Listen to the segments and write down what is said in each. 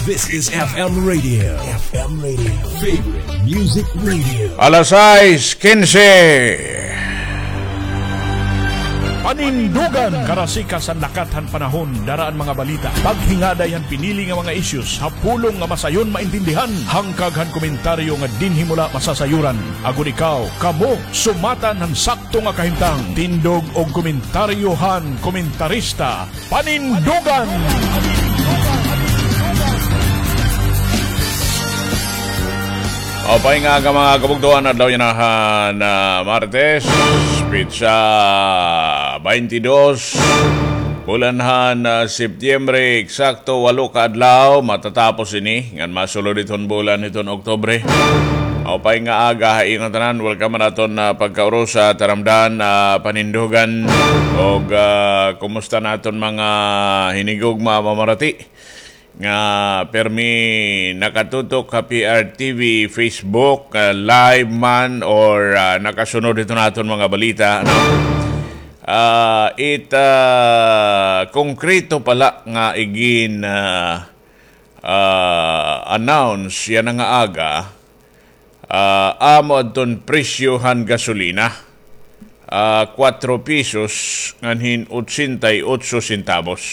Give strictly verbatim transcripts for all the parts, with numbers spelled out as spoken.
This is F M Radio. F M Radio. Favorite Music Radio. Alas sais kinse. Panindugan. Karasikas han lakat han panahon, dara an mga balita, paghingaday han pinili nga mga issues ha pulong nga masayon maintindihan, hangkag han komentaryo nga dinhi mo la masasayoran. Agod ikaw, kamo, sumatan han sakto nga kahimtang. Tindog og komentaryo han komentarista. Panindugan! Maupay nga aga, mga kabugtoan, adlaw yana han, ah, Martes, petsa baynte dos, bulan han, ah, Septiembre, eksakto walo ka adlaw matatapos ini, ngan masulod iton bulan hiton Oktubre. Maupay nga aga ha iyo ngatanan. Welcome han aton, ah, pagkaurusa, taramdan, ah, panindugan. Og, ah, kumusta an aton mga hinigugma, mamarati nga pirmi nakatutok ha P R T V Facebook, ah, live man or, ah, nakasunod hiton aton mga balita, no? Ah, it, ah, konkreto pa la nga igin, ah, ah, announce yana nga aga, ah, amo adton presyo han gasolina, ah, kuwatro pesos ngan hin otsenta y otso centavos.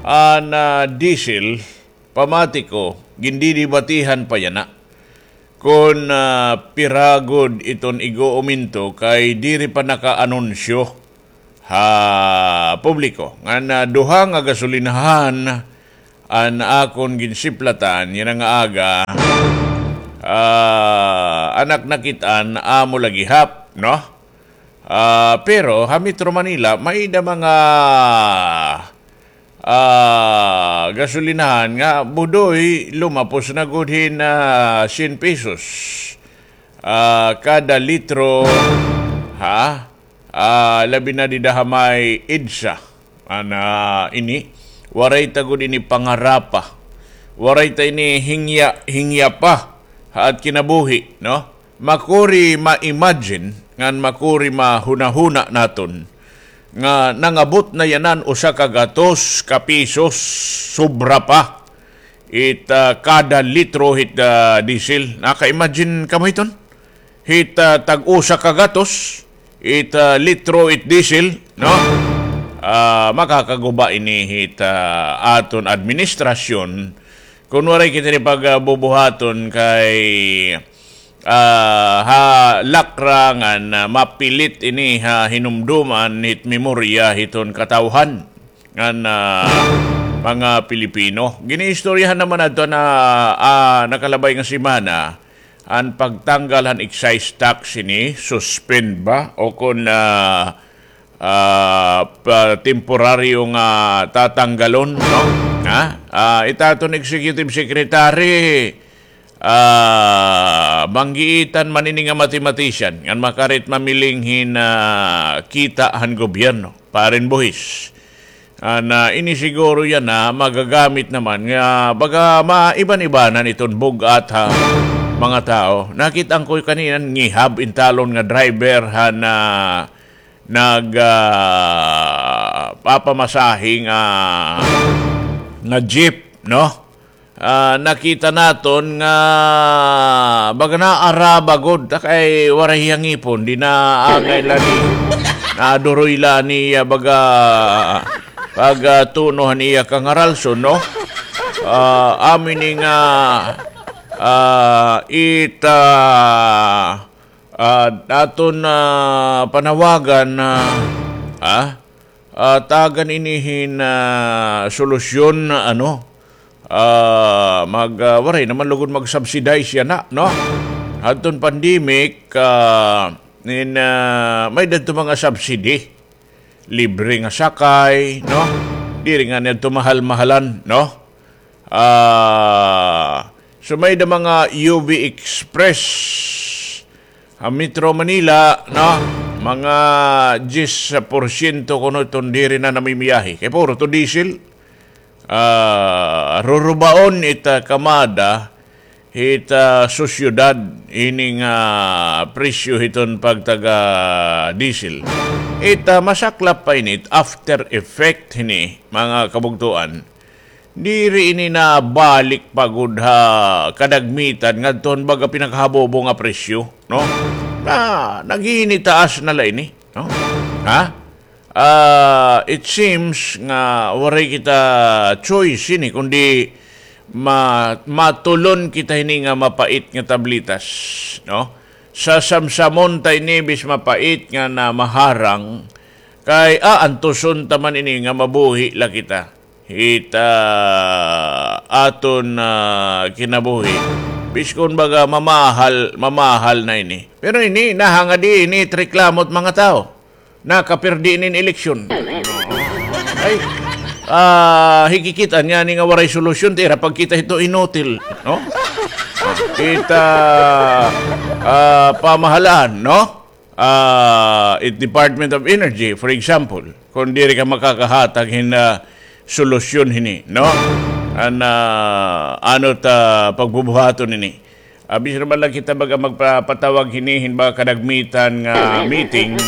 An, ah, diesel, pamati ko, gindidibatihan pa yana kon, ah, pira gud iton ig-uuminto kay diri pa nakaanunsyo ha publiko. Ngan, ah, duha nga gasolinahan an akon ginsiplatan yana nga aga, ah, an ak nakit-an amo la gihap, no? Ah, pero ha Metro Manila, may-ada mga, ah, gasolinahan nga budoy lumapos na gud hin, ah, syen pesos, ah, kada litro, ha? Ah, labi na dida ha may EDSA. Ana ini, waray ta gud ini pangarapa. Waray ta ini hingya, hingya pa ha at kinabuhi, no? Makuri ma-imagine, ngan makuri mahunahuna naton nga nangabot na yanan usa ka gatos ka pisos, sobra pa. It, ah, kada litro hit, ah, diesel. Naka-imagine kamo hiton? Hit, ah, tag-usa ka gatos, it, ah, litro it diesel, no? Ah, makakaguba ini hit, ah, aton administrasyon. Kun waray kita ini pagbubuhaton kay, ah, ha lakra ngan, ah, mapilit ini ha hinumduman hit memorya hiton katawhan ngan, ah, mga Pilipino. Giniistoryahan naman adto na, ah, nakalabay nga semana, an pagtanggal han excise tax ini, suspend ba? O kun, ah, ah, pa-, temporaryo nga tatanggalon, no? Ha? Ah, it aton executive secretary, ah, manggiitan man ini nga mathematician, ngan makarit mamiling hin, ah, kita han gobyerno, Paren Buhis. An, ah, ini siguro yana magagamit naman nga baga maiban-ibanan iton bug-at ha mga tawo. Nakit-an ko kanina ngihab in talon nga driver han, ah, nag, ah, papamasahe nga, nga jeep, no? Ah, nakita naton nga baga naaraba gud, ta kay waray hiya ngipon, di naangay la ni, naduroy la niya baga pag, ah, tuno han iya kangaralson, no? Ah, amo ini nga, ah, it, ah, ah, aton, ah, panawagan na, ah, ah, tagan ini hin, ah, solusyon na ano, ah, mag, ah, waray naman lugod mag-subsidize yana, no? Hadton pandemic, ah, in, ah, may-ada adto mga subsidy. Libre nga sakay, no? Diri ngani adto mahal-mahalan, no? Ah, so may-ada mga U V Express ha Metro Manila, no? Mga diyes porsyento kuno iton diri na namimiyahe. Kay puro to diesel. Ah, rurubaon it, ah, kamada hit, ah, sosyedad ini nga presyo hiton pagtaga diesel. It, ah, masaklap pa ini, it after effect hini, mga kabugtoan. Diri ini nabalik pa gud ha kadagmitan ngadto han baga pinakahabobo nga presyo, no? Na, naghinitaas na la ini, no? Ha? Ah, it seems nga waray kita choice ini, kundi ma-, matulon kita hini nga mapait nga tablitas, no? Sasamsamon ta ini bis mapait nga na maharang, kay aantuson ta man ini nga mabuhi la kita hit, ah, aton, ah, kinabuhi. Biskon baga mamahal, mamahal na ini. Pero ini, nahangadi ini it reklamo hit mga tawo. Nakapirdi ini hin eleksyon. Ay, ah, hikikit-an niya ini nga waray solusyon, tira pagkita hito inutil, no? Kita, ah, pamahalaan, no? Ah, it Department of Energy, for example, kung diri ka makakahatag hin, ah, solusyon hini, no? An, ah, ano ta pagbubuhaton ini? Ah, bisan man la kita baga magpapatawag hini hin baga kadagmitan nga meeting.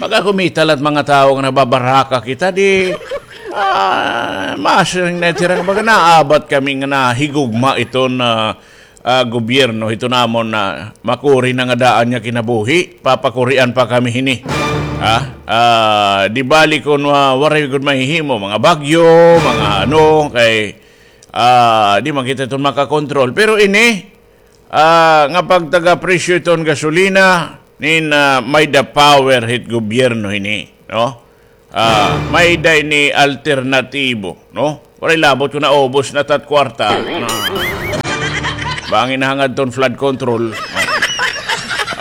Baga kumita la it mga tawo nga nababaraka kita, di, ah, masiring na it ira nga baga naabat kami nga nahigugma iton, ah, ah, gobyerno hito namon na makuri na nga daan nga kinabuhi, papakurian pa kami hini. Ha? Ah, di bali kon wa-, waray gud mahihimo, mga bagyo, mga ano, kay, ah, di man kita iton makakontrol. Pero ini, ah, nga pagtaga presyo iton gasolina, nin, ah, may-ada power hit gobyerno hini, no? Ah, may-ada ini alternatibo, no? Waray labot kon naubos na it at kwarta. Ah. Bangin nahangad ton flood control.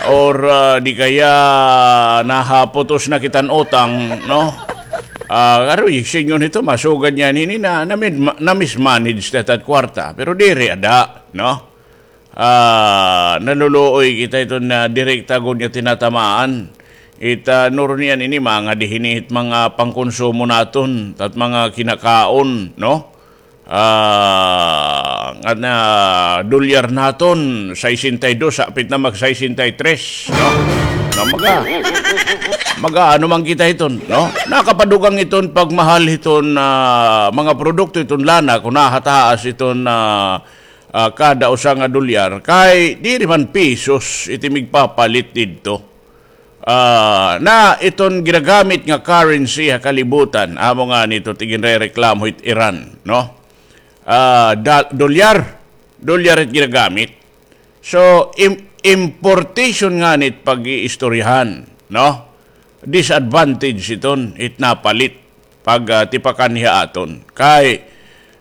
Or, ah, di kaya nahaputos na kita hin utang, no? Ah, aroy, singon hito, masugad niyan hini na, na, na-mismanage na it at kwarta. Pero diri ada, no? Ah, naluluoy kita iton, ah, direkta gud nga tinatamaan. It, ah, nurnian ini mangadi hini hit mga pangkonsumo naton, it mga kinakaon, no? Ah, nga na dolyar naton, sesenta y dos, hapit na mag sesenta y tres, no? Nga maga-, mag-aano man kita hiton, no? Nakapadugang iton pagmahal hiton, ah, mga produkto, iton lana, kon nahataas iton, ah, ah, kada usa nga dolyar, kay diri man pesos it im igpapalit didto. Ah, na iton ginagamit nga currency ha kalibutan, amo ngani ito it iginrereklamo hit Iran, no? Ah, da-, dolyar, dolyar it ginagamit. So, im-, importation ngani it pag-iistoryahan, no? Disadvantage iton it napalit pag, ah, tipakan ha aton. Kay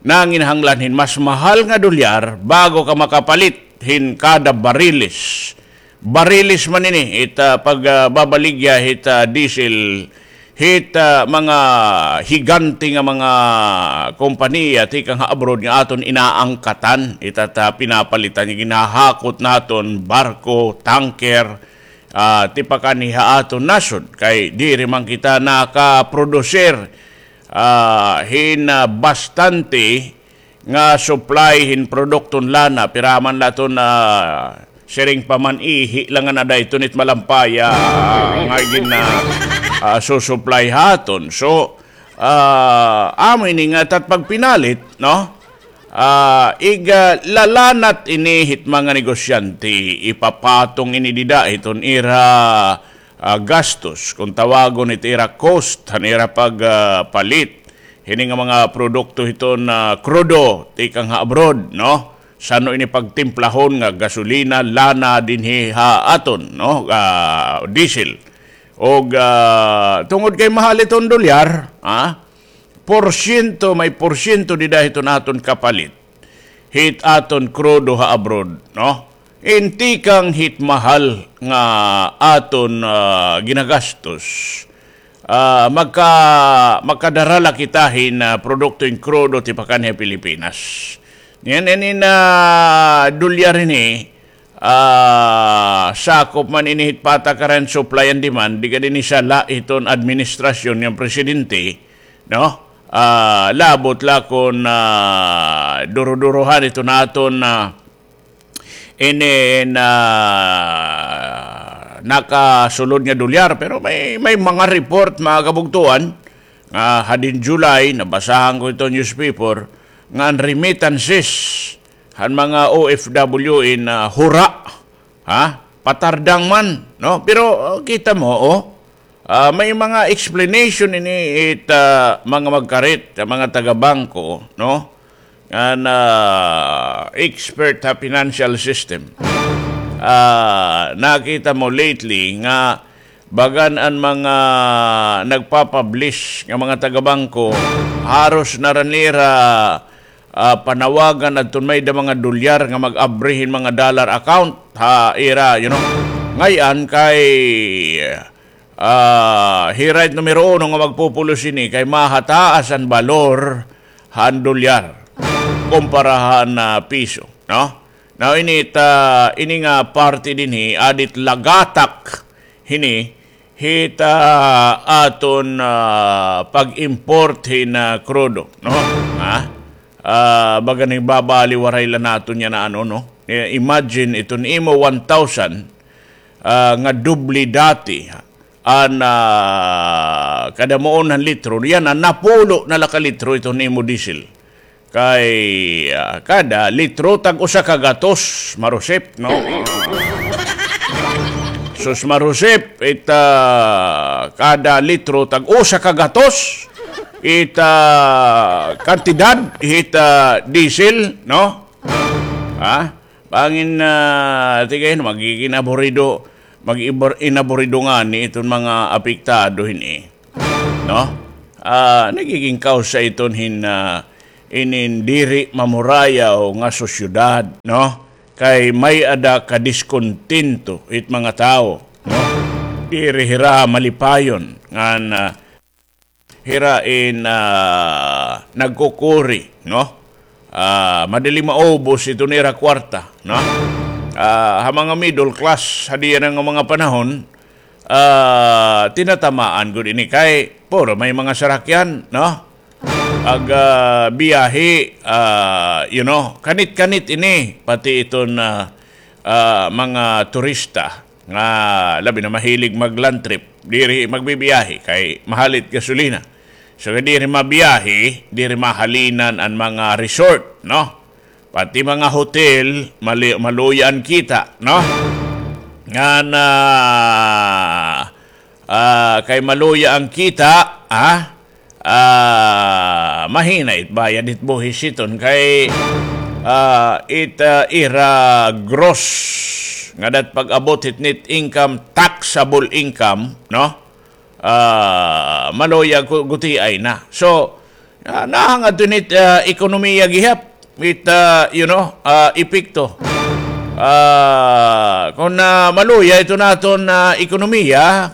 nanginahanglan hin mas mahal nga dolyar bago ka makapalit hin kada bariles. Bariles man ini, it, ah, pag, ah, babaligya hit, ah, diesel, hit, ah, mga higante nga mga kompanya tikang ha abroad nga aton inaangkatan, it, ah, pinapalitan, ginahakot naton barko, tanker, ah, tipakan ha aton nasod, kay diri man kita nakaprodusir, ah, hin, ah, bastante nga supply hin produkton lana, pira man la iton, ah, siring pa man ihi la nga nadayton it malampaya, ah, nga gin-, ah, ah, susupply ha aton. So, ah, amo ini nga it at pagpinalit, no? Ah, ig, ah, lalanat ini hit mga negosyante, ipapatong ini dida hiton ira, ah, gastos, kon tawagon it ira cost, han ira pag, ah, palit hini nga mga produkto hiton, ah, krudo tikang ha abroad, no? San-o ini pagtimplahon nga gasolina, lana dinhi ha aton, no? Ah, diesel. Og, ah, tungod kay mahal iton dolyar, ha? Porsyento, may porsyento dida hiton aton kapalit hit aton krudo ha abroad, no? Hin tikang hit mahal nga aton, ah, ginagastos, ah, magka-, makadara la kita hin, ah, produkto hin krudo tipakan ha Pilipinas. Niyan, ini na dolyar ini, ah, sakop man ini hit patakaran supply and demand, di ka dinhi sala hiton administrasyon nga presidente, no? Ah, labot la kon, ah, duruduruhan iton aton, ah, ini na nakasulod nga dolyar, pero may, may mga report, mga kabugtuan, nga hadin July, nabasahan ko ito newspaper, nga an remittances han mga O F W in, ah, hura, ha? Patardang man, no? Pero, oh, kita mo, oh, ah, may mga explanation ini it, ah, mga magkarit, ah, mga taga-bangko, no? An, ah, expert ha financial system. Ah, nakita mo lately nga bagan an mga nagpa-publish nga mga taga-bangko, haros na ra nira, ah, panawagan adton may-ada mga dolyar nga mag-abri hin mga dollar account ha ira, you know. Ngay-an kay, ah, hira it numero uno nga magpupulos ini kay mahataas an balor han dolyar kumpara han, ah, piso, no? Now, ini ta, ini nga parte dinhi, addit lagatak hini hit, ah, aton, ah, pag-import hin, ah, krudo, no? Ha? Ah, baga nagbabaliwaray la naton yana, ano, no? Eh, imagine iton imo one thousand, ah, nga doble dati an, ah, kada muon han litro, yana, napulo na la ka litro iton imo diesel. Kay, ah, kada litro tag usa ka gatos, Marusip, no? Sus, Marusip, it, ah, kada litro tag usa ka gatos, it, ah, kantidad, it, ah, diesel, no? Ha? Bangin, ah, tigay, magigin aburido, mag-ibor-, inaburido ngani iton mga apektado hini, no? Ah, nagiging kausa iton hin, ah, inin diri mamurayaw nga sosyedad, no? Kay may-ada kadiskontinto it mga tawo, no? Diri hira malipayon ngan, ah, hira in, ah, nagkukuri, no? Ah, madali maubos iton ira kwarta, no? Ah, ha mga middle class, ha diyan nga mga panahon, ah, tinatamaan gud ini kay puro may mga sarakyan, no? Ag, ah, biyahe, ah, you know, kanit-kanit ini, pati iton, ah, ah, mga turista nga labi na mahilig mag-land trip, diri magbibiyahe kay mahal it gasolina. So, diri mabiyahe, diri mahalinan an mga resort, no? Pati mga hotel, mali-, maluya an kita, no? Ngan, ah, ah, kay maluya an kita, ah, ah, mahina it bayad it buhis iton kay, ah, it, ah, ira gross nga dat pag-abot hit net income, taxable income, no? Ah, maluya gu-, gutiay na. So, ah, nahangad to nit, ah, ekonomiya gihap, it, ah, you know, ah, epekto. Ah, kon, ah, maluya iton aton, ah, ekonomiya,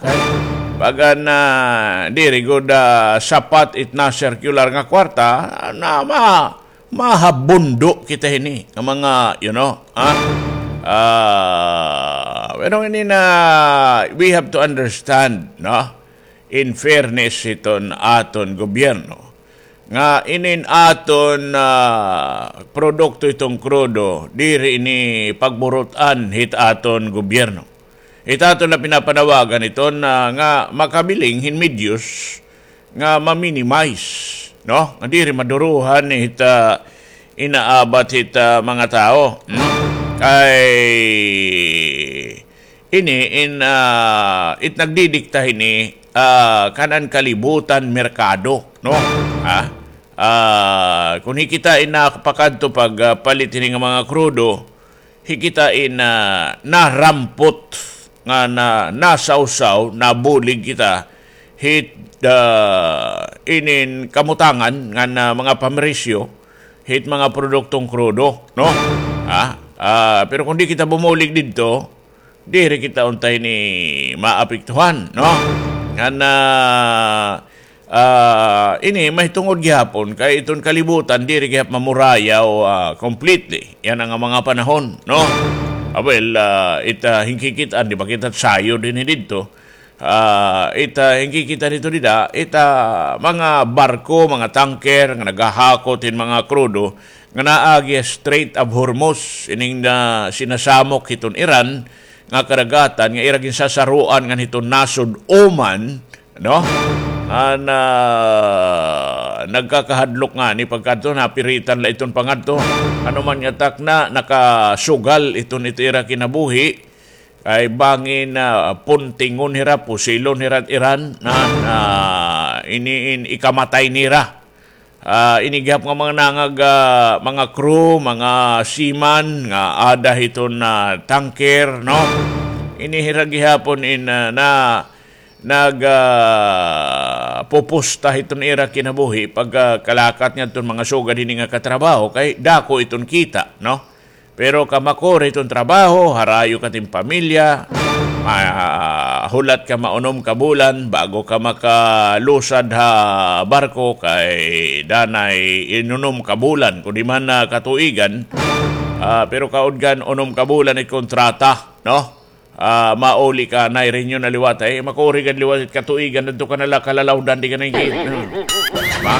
bagan, ah, diri gud, ah, sapat it na-circular nga kwarta, na ma-, mahabundo kita hini nga mga, you know, ah, ah, pero ini na, we have to understand, no? In fairness hiton aton gobyerno, nga inin aton, ah, produkto iton krudo, diri ini pagburut-an hit aton gobyerno. It aton na pinapanawagan iton, ah, nga makabiling hin medyos nga ma-minimize, no? Nga diri maduruhan hit, ah, inaabat hit, ah, mga tawo. Hmm? Kay ini in, ah, it nagdidikta hini, ah, kan-an kalibutan merkado, no? Ha? Ah, kon hi kita in nakapakadto pag, ah, palit hini nga mga krudo, hi kita in, ah, narampot nga na, nasawsaw, nabulig kita hit, ah, inin kamutangan nga na mga pamresyo hit mga produktong krudo, no? Ha? Ah, pero kon di kita bumulig didto, diri kita unta hini maapektuhan, no? Ngan, ah, ah, ini mahitungod gihapon kay iton kalibutan diri gihap mamurayaw, ah, completely yana nga mga panahon, no? Ah, well, ah, it, ah, hinkikit-an, di ba kita sayod dinhi didto? Ah, it, ah, hinkikit-an hito dida, it, ah, mga barko, mga tanker nga naghahakot hin mga krudo nga naagi ha Strait of Hormuz, ining na sinasamok hiton Iran nga karagatan nga ira ginsasaruan ngan hiton nasod Oman, no? An, ah, nagkakahadlok ngani pagkadto, napiritan la iton pangadto. Ano man nga takna, nakasugal iton it ira kinabuhi. Kay bangin, ah, puntingon hira, pusilon hira it iran, na, na ini in ikamatay nira. Ah, ini gihap nga mga nangag, ah, mga crew, mga seaman nga ada hiton, ah, tanker, no? Ini hira gihapon in, ah, na, nag, ah, pupusta hiton ira kinabuhi pagkalakat ngadton mga sugad hini nga katrabaho kay dako iton kita, no? Pero kamakuri iton trabaho, harayo ka tin pamilya, mahulat ka maunom ka bulan bago ka makalusad ha barko kay danay inunom ka bulan, kundi man, ah, katuigan, ah, pero kaudgan unom ka bulan it kontrata, no? Ah, mauli ka, nairinyo na liwat, ay, makuri gad liwat it katuigan, adto ka na la kalalawdan, di ka na inkit. Ma?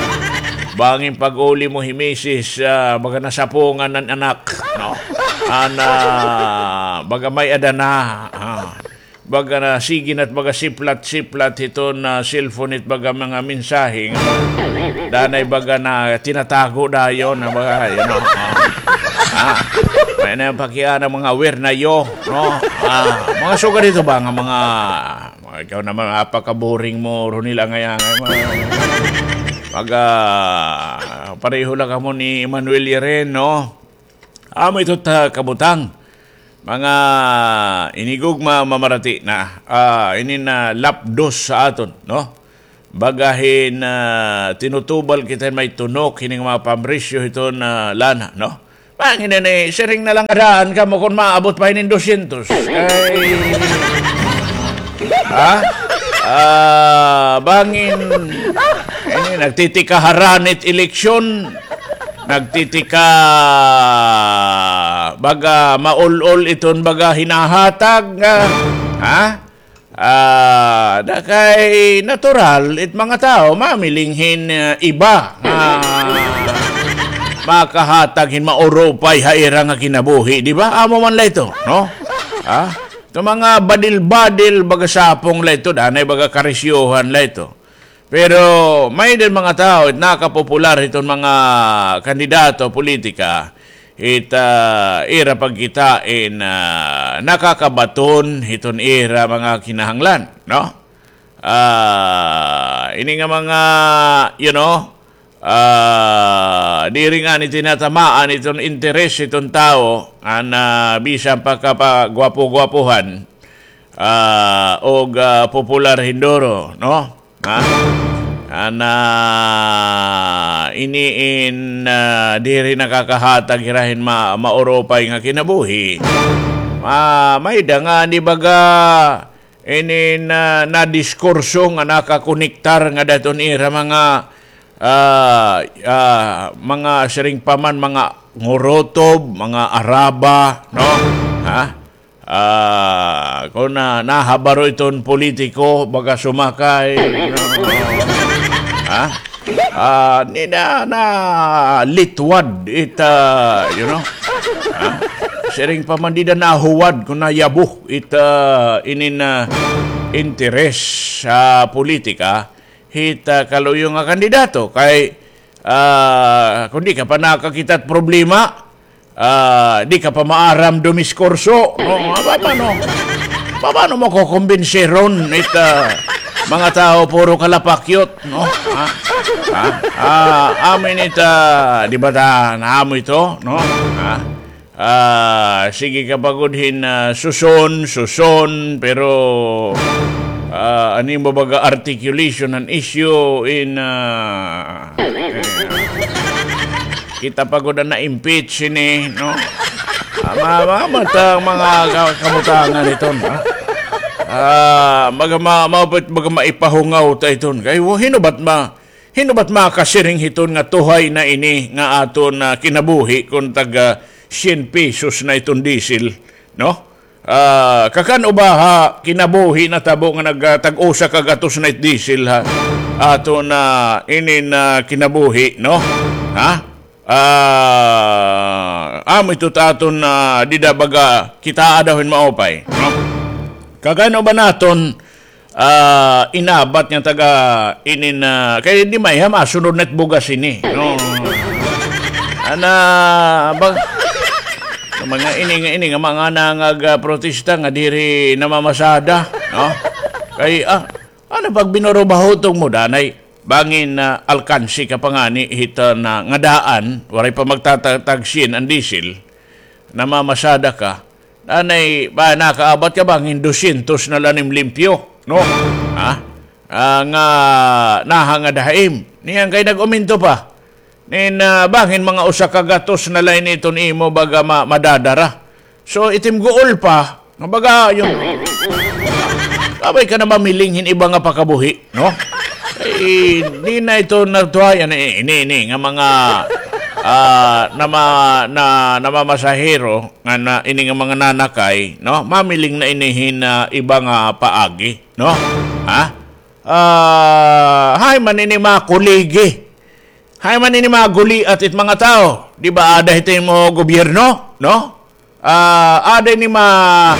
Bangin pag-uli mo hi misis, ah, baga nasapungan an anak, no? Ana, baga may-ada na, ah. Baga na, sige na it baga siplat-siplat hiton, ah, cellphone it baga mga mensahe nga danay baga na tinatago dayon, na baga, you know, ah. Ah, may na pakiana mga wer na yo, no? Ah, mga sugad hito ba nga mga, mga ikaw naman, apaka-boring mo, Ronil, angay-angay mo. Pag, ah, pareho la kamo ni Emmanuel Yeren, no? Amo ito ta kabutang. Mga inigugma, mamarati na, ah, ini na lapdos sa aton, no? Baga hin, ah, tinutubal kita hin may tunok hini nga mga pamrisyo hiton, ah, lana, no? Bangin ini, siring na la nga daan kamo kon maabot pa hinin dosyentos. Ay. Ha? Ah, bangin ini, nagtitika harani it eleksyon, nagtitika baga maul-ol iton baga hinahatag nga, ha? Ah, da kay natural it mga tawo mamiling hin, ah, iba nga makahatag hin maurupay ha ira nga kinabuhi, di ba? Amo man la ito, no? Ha? Ito mga badil-badil, baga sapong la ito, danay baga karisyohan la ito. Pero may din mga tawo, it nakapopular hiton mga kandidato, politika, it, ah, ira pagkitain, ah, nakakabaton hiton ira mga kinahanglan, no? Ah, ini nga mga, you know, ah, diri ngani tinatamaan iton interes hiton tawo, an, ah, bisan pa kapagwapo-gwapohan, ah, og, ah, popular hin duro, no? Ha? Ana, ini in, ah, diri nakakahatag hira hin ma-, maurupay nga kinabuhi. Ma-, may-ada ngani baga ini na, na diskurso nga nakakonektar ngada hiton ira mga, ah, ah, mga siring pa man, mga ngurutob, mga araba, no? Ha? Ah, kon na, nahabaro iton politiko, baga sumakay, no? Ha? Ah, nida na litwad it, ah, you know? Ha? Siring pa man, dida nahuwad kon nayabo it, ah, inin, ah, interes sa politika hit, ah, kaluyo nga kandidato. Kay, ah, kon di ka pa nakakita it problema, ah, di ka pa maaram dumiskurso, no? Ah, pa-, paano? Pa-, paano mo kukumbinsiron it, ah, mga tawo puro kalapakyot, no? Ha? Ha? Ah, amin it, ah, di ba ta, naamo ito, no? Ha? Ah, sige ka pa gud hin, ah, suson, suson, pero, ah, an imo baga articulation an issue in, ah, eh, kita pa gud an na-impeach ini, no? Ah, ma-, ma-, mata ang mga ka-, kabutangan iton, ha? Ah, maga-, ma-, maupit, maga-, maipahungaw ta iton. Kay, wa-, hinubat ma-, hinubat makasiring hiton nga tuhay na ini nga aton, ah, kinabuhi kon taga syen pesos na iton diesel, no? Ah, kakan-o ba ha kinabuhi natabo nga nag-, ah, tag-usa ka gatos na it diesel ha aton, ah, inin, ah, kinabuhi, no? Ha? Ah, amo ito ta aton, ah, dida baga kitaa daw hin maupay, no? Kakan-o ba naton ah, inabat nga taga inin, ah, kay di may ha masunod na it bugas ini, no? Ana, ba, mga ini nga, ini nga mga nangag, ah, protesta nga diri namamasada, no? Kay, ah, ano pag binurubahutong mo, danay, bangin, ah, alkansi ka pa ngani hit, ah, na, nga daan, waray pa magtatagsin an diesel, namamasada ka, anay, ba, nakaabat ka bangin dosyentos na la nim limpyo, no? Ha? Ah, nga nahangad ha im. Niyan kay nag-uminto pa. Nin, ah, bangin mga usa ka gatos na la ini iton imo baga ma-, madadara. So, it im guol pa, nga baga, yung, kabay ka na mamiling hin iba nga pakabuhi, no? Eh, di na ito nagtuhayan, eh, ini, ini, nga mga, ah, nama-, na, namamasahero, nga na, ini nga mga nanakay, no? Mamiling na ini hin, ah, iba nga paagi, no? Ha? Ah, hay man ini mga kuligi. Hay man ini mga guliat it mga tawo. Di ba, ada hito imo gobyerno, no? Ah, ada ini ma-,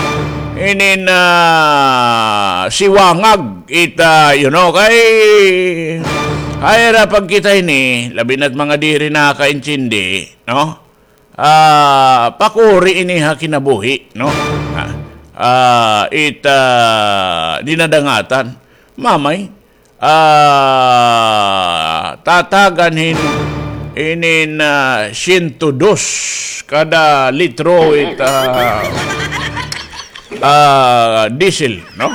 inin, ah, siwangag it, ah, you know, kay, hay ra pagkita ini, labi na't mga diri nakakaintindi, no? Ah, pakuri ini ha kinabuhi, no? Ah, ah, it, ah, dinadangatan. Mamay, ah, tatagan hin inin, ah, siyento dos kada litro it, ah, ah, diesel, no?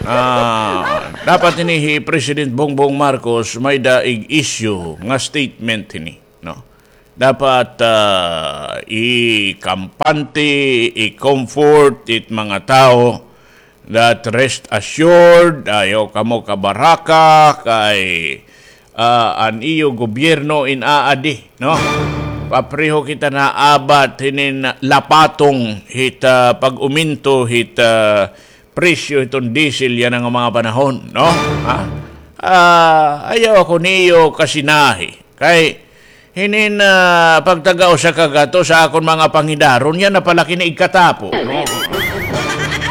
Ah, dapat ini hi President Bongbong Marcos may-ada ig-issue nga statement hini, no? Dapat, ah, ikampante, i-comfort it mga tawo that rest assured, ayaw kamo kabaraka, kay, ah, an iyo gobyerno in aadi, no? Papriho kita naabat hinin lapatong hit, ah, pag-uminto hit, ah, presyo hiton diesel yana nga mga panahon, no? Ha? Ah, ayaw ako niyo kasinahi. Kay, hinin, ah, pagtaga usa ka gatos sa akon mga pangidaron, yana pala kini igkatapo, no?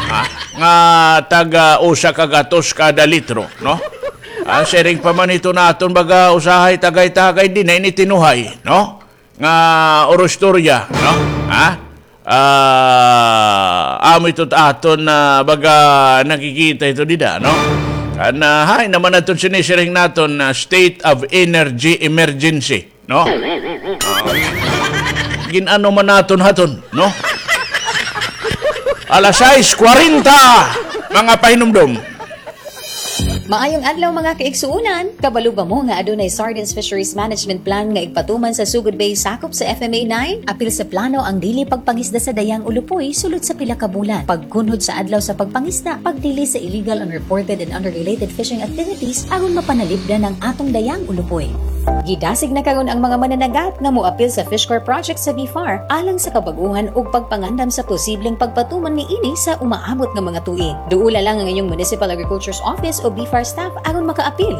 Ha? Nga taga usa ka gatos kada litro, no? An siring pa man hiton aton baga usahay tagay-tagay dinhi ini tinuhay, no? Nga oro istorya, no? Ha? Ah, amo ito aton, ah, baga nakikita ito dida, no? Kan, ah, hay naman aton sinisiring naton, ah, state of energy emergency, no? Ah, gin-ano man naton haton, no? Alas sais kwarenta, mga pahinumdom. Maayong adlaw, mga kaigsuonan! Kabalo ba mo nga adunay Sardines Fisheries Management Plan nga igpatuman sa Sugod Bay sakop sa F M A nine? Apil sa plano ang dili pagpangisda sa dayang ulupoy sulod sa pila ka bulan, pagkunhod sa adlaw sa pagpangisda, pagdili sa illegal, unreported, and unregulated fishing activities aron mapanalipdan ang atong dayang ulupoy. Gidasig na karon ang mga mananagat nga moapil sa Fish Corps project sa BFAR alang sa kabag-ohan ug pagpangandam sa posibleng pagpatuman niini sa umaabot nga mga tuig. Duola lang ang inyong Municipal Agriculture's Office o BFAR staff aron makaapil.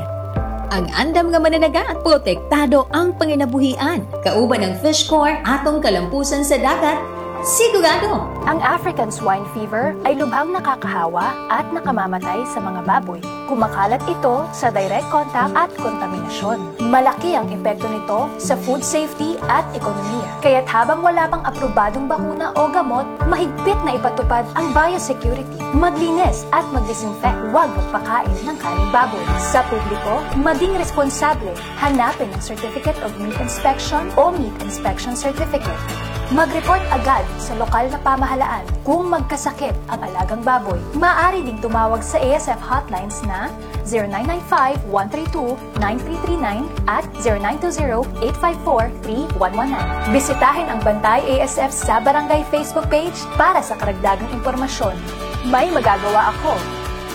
Ang andam nga mananagat, protektado ang panginabuhian. Kauban ang Fish Corps, atong kalampusan sa dagat, sigurado! Ang African Swine Fever ay lubhang nakakahawa at nakamamatay sa mga baboy. Kumakalat ito sa direct contact at kontaminasyon. Malaki ang epekto nito sa food safety at ekonomiya. Kaya't habang wala pang aprobadong bakuna o gamot, mahigpit na ipatupad ang biosecurity. Maglinis at mag-disinfect. Huwag magpakain ng karneng baboy. Sa publiko, maging responsable. Hanapin ang Certificate of Meat Inspection o Meat Inspection Certificate. Mag-report agad sa lokal na pamahalaan kung magkasakit ang alagang baboy. Maaari ding tumawag sa A S F hotlines na zero nine nine five, one three two, nine three three nine at zero nine two zero, eight five four, three one one nine. Bisitahin ang Bantay A S F sa Barangay Facebook page para sa karagdagang impormasyon. May magagawa ako.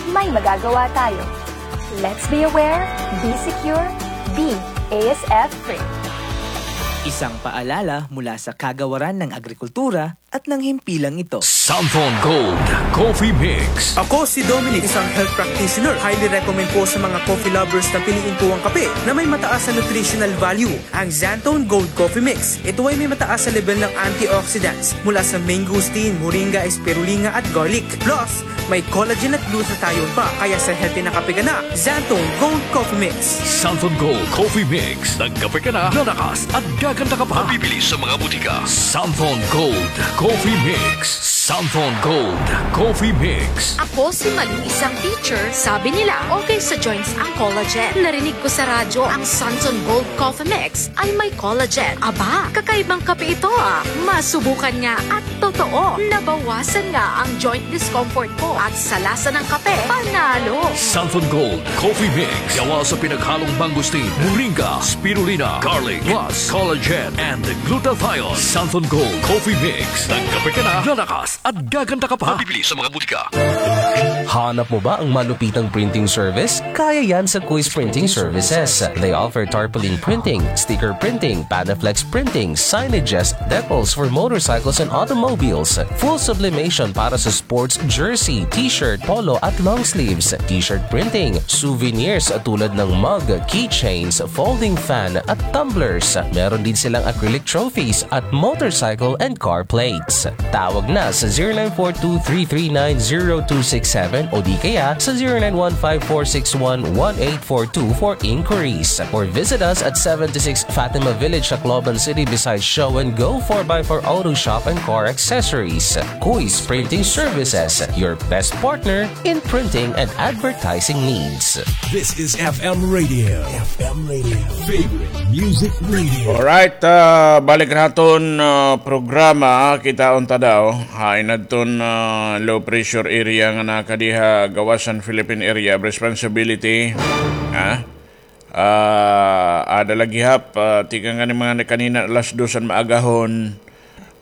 May magagawa tayo. Let's be aware, be secure, be A S F free. Isang paalala mula sa Kagawaran ng Agrikultura, at nanghimpilang ito. Santon Gold Coffee Mix. Ako si Dominic, isang health practitioner. Highly recommend ko sa mga coffee lovers na piliin ko ang kape na may mataas na nutritional value, ang Xanthone Gold Coffee Mix. Ito ay may mataas na level ng antioxidants mula sa mangosteen, moringa, spirulina at garlic. Plus, may collagen at glutathione pa, kaya sa healthy na kape ka na, Xanthone Gold Coffee Mix. Santon Gold Coffee Mix. Nagkape ka na, lalakas at gaganda ka pa. Mabibili sa mga butika. Santon Gold Coffee Mix. Santon Gold Coffee Mix. Ako si Malu, isang teacher. Sabi nila, okay sa joints ang collagen. Narinig ko sa radyo ang Santon Gold Coffee Mix ay may collagen. Aba, kakaibang kape ito, ah. Masubukan nga at totoo, nabawasan nga ang joint discomfort ko at sa lasa ng kape, panalo. Santon Gold Coffee Mix. Gawa sa pinaghalong mangosteen, moringa, spirulina, garlic, plus collagen and glutathione. Santon Gold Coffee Mix. Nagkape ka na, lalakas at gaganda ka pa. Mabibili sa mga butika. Hanap mo ba ang malupitang printing service? Kaya yan sa Kuis Printing Services. They offer tarpaulin printing, sticker printing, Panaflex printing, signages, decals for motorcycles and automobiles, full sublimation para sa sports jersey, t-shirt, polo at long sleeves, t-shirt printing, souvenirs tulad ng mug, keychains, folding fan at tumblers. Meron din silang acrylic trophies at motorcycle and car plates. Tawag na sa zero nine four two three three nine zero two six seven o di kaya sa zero nine one five four six one one eight four two for inquiries. Or visit us at seventy-six Fatima Village, Tacloban City, beside Show and Go, four by four Auto Shop and Car Accessories. Kuis Printing Services, your best partner in printing and advertising needs. This is F M Radio. F M Radio. Favorite Music Radio. Alright, ah, balik naton, ah, programa, kitaon ta daw. Hain adton, ah, low pressure area nga nakadiha gawas han Philippine Area of Responsibility. Ha? Ah, ada la gihap, ah, tikang ngani mga kanina alas dos han maagahon.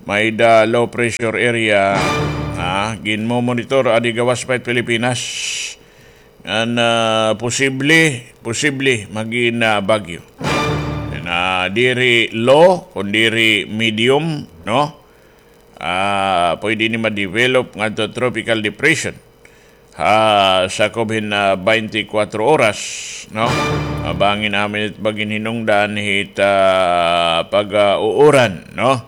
May-ada low pressure area, ah, ginmomonitor adi gawas pa it Pilipinas. Ngan, ah, posible, posible magin, ah, bagyo. Na diri low, kun diri medium, no? Ah, pwede ini ma-develop ngadto tropical depression. Ha, sakob hin, ah, baynte kwatro oras, no? Ah, bangin amin it maghinhinungdan hit, ah, pag, ah, uuran, no?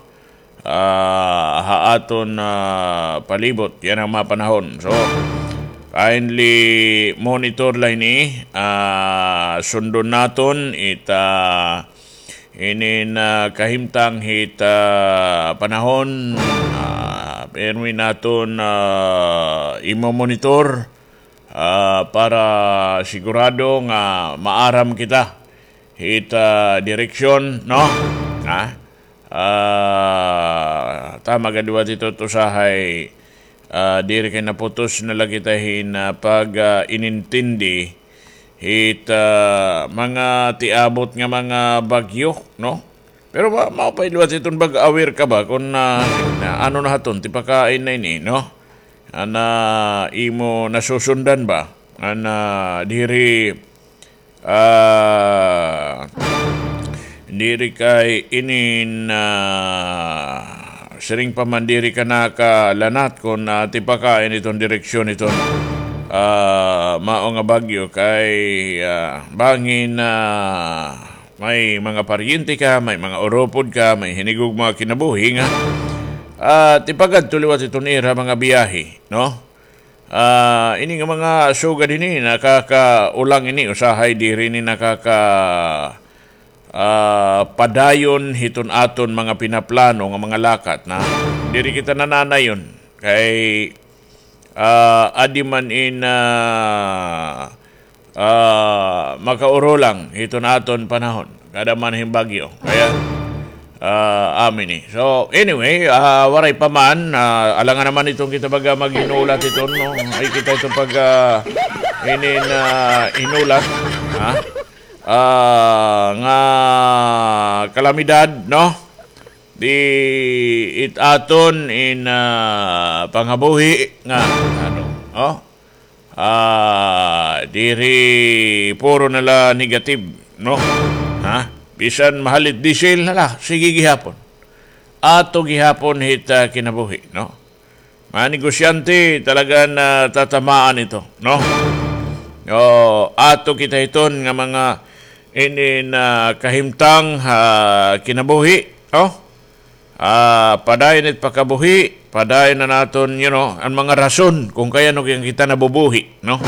Ah, ha aton, ah, palibot, yana nga mga panahon. So, kindly monitor la ini, ah, sundon naton it, ah, inin, ah, kahimtang hit, ah, panahon, ah, pirmi naton, ah, imo-monitor, ah, para sigurado nga maaram kita hit, ah, direksyon, no? Ha? Ah, tama gad liwat ito, usahay, ah, diri kay naputos na la kita hin, ah, pag, ah, inintindi hit, ah, mga tiabot nga mga bagyo, no? Pero ma-, maupay liwat iton pag-aware ka ba kun, ah, na, ano na haton, tipakain na ini, no? Ana, imo nasusundan ba? Ana, diri, ah, diri kay inin, ah, siring pa man diri ka nakalanat kun, ah, tipakain iton direksyon iton, ah, mao nga bagyo kay, ah, bangin, ah, may mga paryente ka, may mga urupod ka, may hinigugma nga kinabuhi nga, ah, tipagadto liwat iton ira mga biyahe, no? Ah, ini nga mga sugad ini, nakakaulang ini, usahay diri ini nakaka-, ah, padayon hiton aton mga pinaplano nga mga lakat na diri kita nananayon. Kay, ah, adi man in, ah, ah, makaurulang hiton aton panahon. Kada man hin bagyo. Kaya, ah, amin ni. So, anyway, ah, waray pa man, ah, alangan naman iton kita baga maghinulat iton, no? Ay, kita iton pag, ah, inin, ah, hinulat, ha? Ah, nga kalamidad, no? Di it aton in, ah, pangabuhi nga, ano, oh? Ah, diri puro na la negative, no? Ha? Bisan mahal it diesel, hala, sige gihapon. ato gihapon hit, ah, kinabuhi, no? Mga negosyante, talaga na tatamaan ito, no? O, ato kita hiton nga mga inin, ah, kahimtang ha kinabuhi, no? Ah, padayon it pakabuhi, padayon na naton, you know, an mga rason kung kay ano kita nabubuhi, no?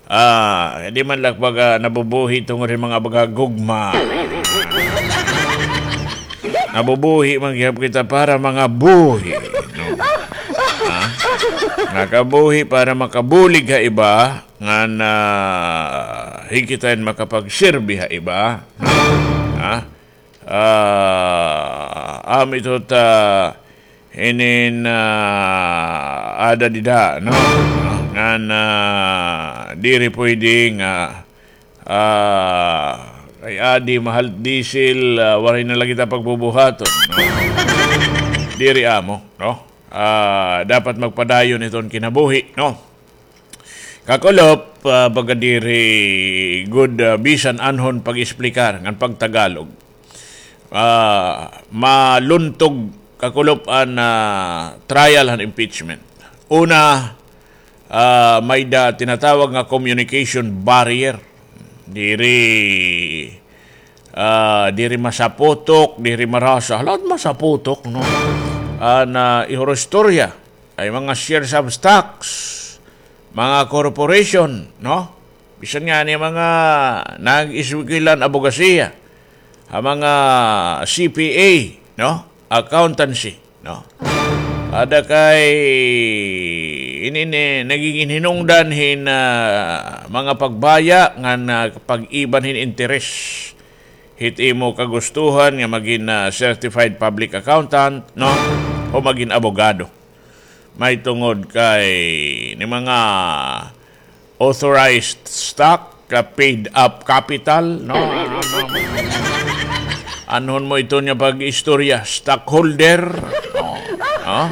Ah, di man la baga nabubuhi tungod hin mga baga gugma. Nabubuhi man gihap kita para mangabuhi, no? Ha? Nakabuhi para makabulig ha iba, ngan, ah, hin kita hin makapagserbi ha iba. Ha? Ah, amo ito ta inin, ah, ada dida, no? Ngan, ah, diri pwede nga, ah, kay adi mahal diesel, ah, waray na la kita pagbubuhaton, no? Diri amo, no? Ah, dapat magpadayon iton kinabuhi, no? Kakulop, ah, baga diri gud, ah, bisan anhon pag-explicar ngan pag-Tagalog. Ah, maluntog kakulop an, ah, trial han impeachment. Una, ah, may-ada tinatawag nga communication barrier. Diri, ah, diri masaputok, diri marasa. Lahat masaputok, no? An, ah, ihurostorya. Ay mga shares of stocks, mga corporation, no? Bisan ngani mga nag-eskwela hin abogasiya, ha mga C P A, no? Accountancy, no? Ada kay ini, ini nagigin hinungdan hin, ah, mga pagbaya ngan, ah, pag-iban hin interes hit imo kagustuhan nga magin, ah, certified public accountant, no? O magin abogado. Mahitungod kay ni mga authorized stock, ka paid up capital, no? Anhon mo ito niya pag-istorya, stockholder.